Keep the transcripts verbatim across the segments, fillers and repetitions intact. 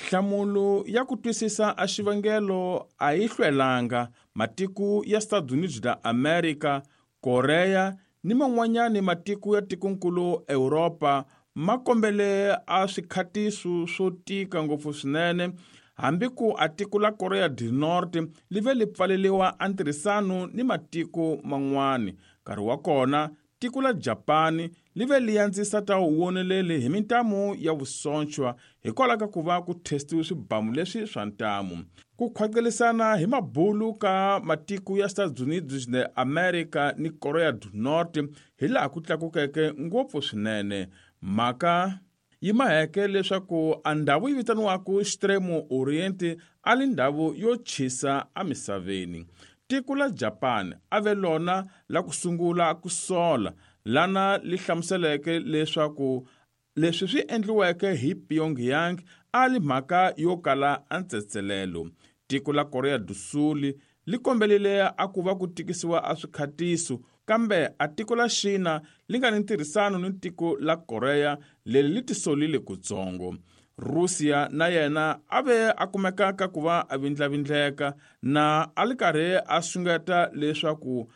Nhlamulo ya ku twisisa a xivangelo a yi hlwelanga. Matiko ya Estados Unidos da America, Korea ni man'wanyani matiko ya tikonkulu Europa ma kombele a swikhatiso swo tika ngopfu swinene, hambi ku a tiko la Korea du Norte li ve li pfaleliwa a ntirhisano ni matiko man'wani. Nkarhi wa kona tiko la Japani li ve li andzisa ta woneleli hi mintamu ya vusonchwa hikwalaho ka ku va ku testiwe swibamu leswi swa ntamu. Ku khwaqelisana hi mabulu ka matiko ya Estados Unidos de America ni Korea du Norte hi laha ku tlakukeke ngopfu swinene. Mhaka yi maheke leswaku a ndhawu yi vitaniwaka Extremo Oriente a li ndhawu yo chisa emisaveni. Tiko la Japan a ve lona la ku sungula ku sola, lana li hlamuseleke leswaku leswi swi endliweke hi Pyongyang a li mhaka yo kala a ntsetselelo. Tiko la Korea du Sul li kombelile a ku va ku tikisiwa a swikhatiso, kambe a tiko la China li nga ni ntirhisano ni tiko la Korea leri li tisolile kutsongo. Russia na yena a ve a kumeka ka ku va a vindlavindleka na a li karhi a xungeta leswaku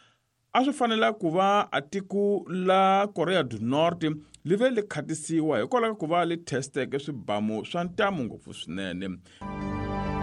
a swi fanela ku va a tiko la Korea du Norte li ve li khatisiwa hikwalaho ka ku va li testeke swibamu swa ntamu ngopfu swinene.